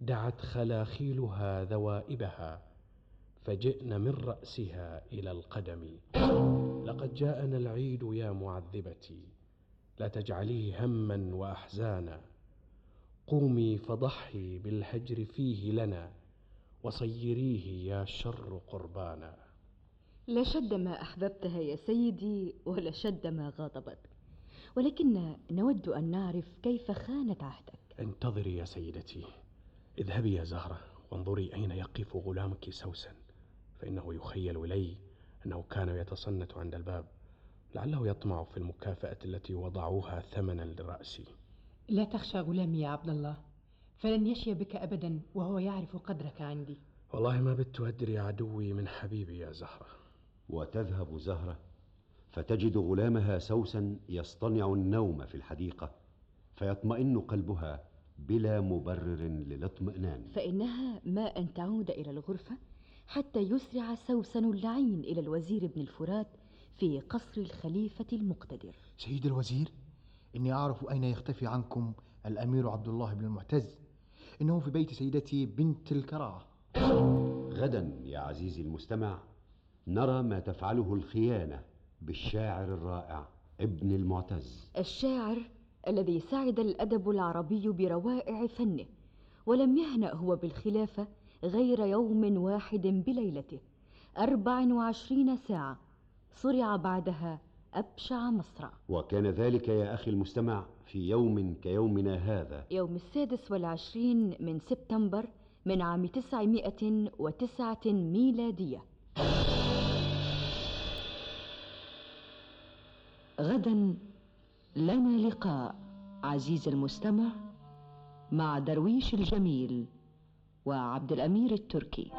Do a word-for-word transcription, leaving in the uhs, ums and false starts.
دعت خلاخيلها ذوائبها فجئن من رأسها إلى القدم. لقد جاءنا العيد يا معذبتي، لا تجعليه هما وأحزانا. قومي فضحي بالهجر فيه لنا، وصيريه يا شر قربانا. لشد ما أحببتها يا سيدي ولشد ما غاضبتك، ولكن نود أن نعرف كيف خانت عهدك. انتظري يا سيدتي. اذهبي يا زهرة وانظري أين يقف غلامك سوسن، فإنه يخيل إلي أنه كان يتصنت عند الباب، لعله يطمع في المكافأة التي وضعوها ثمنا لرأسي. لا تخشى غلامي يا عبد الله، فلن يشي بك أبدا وهو يعرف قدرك عندي. والله ما بت أدري عدوي من حبيبي يا زهرة. وتذهب زهرة فتجد غلامها سوسن يصطنع النوم في الحديقة، فيطمئن قلبها بلا مبرر للاطمئنان، فإنها ما أن تعود إلى الغرفة حتى يسرع سوسن اللعين إلى الوزير ابن الفرات في قصر الخليفة المقتدر. سيد الوزير، إني أعرف أين يختفي عنكم الأمير عبد الله بن المعتز، إنه في بيت سيدتي بنت الكراعة. غدا يا عزيزي المستمع نرى ما تفعله الخيانة بالشاعر الرائع ابن المعتز، الشاعر الذي سعد الأدب العربي بروائع فنه، ولم يهنأ هو بالخلافة غير يوم واحد بليلته، أربع وعشرين ساعة صرع بعدها أبشع مصرع. وكان ذلك يا أخي المستمع في يوم كيومنا هذا، يوم السادس والعشرين من سبتمبر من عام تسعمائة وتسعة ميلادية. غدا لنا لقاء عزيز المستمع مع درويش الجميل وعبد الأمير التركي.